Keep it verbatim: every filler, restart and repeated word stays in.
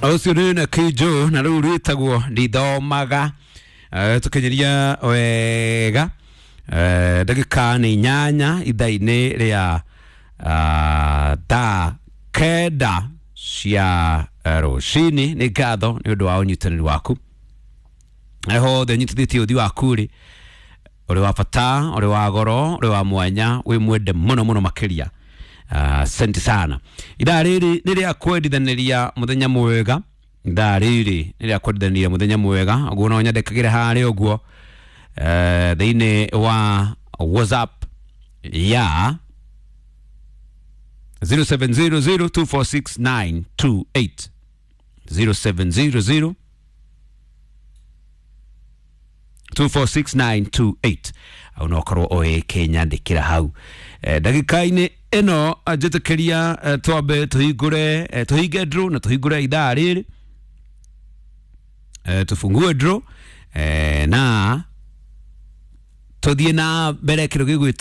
Ũcio nĩ na Kinjo na rĩu rwĩtagwo ndithomaga. Eh, tũkinyiria wega Eh, ndagĩka nĩ inyanya ithaa-inĩ rĩa ah, thaa kenda cia eh, rũcinĩ. Nĩ ngatho nĩ ũndũ wa ũnyitanĩri waku harĩa hothe ũnyitithĩtie ũthi waku rĩ, ũrĩ wa bata, ũrĩ wa goro, ũrĩ wa mwanya, wĩ mwende mũno mũno makĩria. Asante sana. Ithaa rĩrĩ nĩ rĩa kwendithanĩria mũthenya mwega, ithaa rĩrĩ nĩ rĩa kwendithanĩria mũthenya mwega. Ũguo no nyandĩkagĩre harĩa ũguo eh, thĩinĩ wa WhatsApp ya zero seven zero zero two four six nine two eight, zero seven zero zero two four six nine two eight, au no korwo ũgĩkĩnyandĩkĩra hau. Eh, ndagĩka-inĩ ĩno njĩtĩkĩria eh, twambe tũhingũre eh, tũhinge draw na tũhingũre ithaa rĩrĩ, eh, tufungue draw eh, na tũthiĩ na mbere kĩndũ gĩgwĩtwo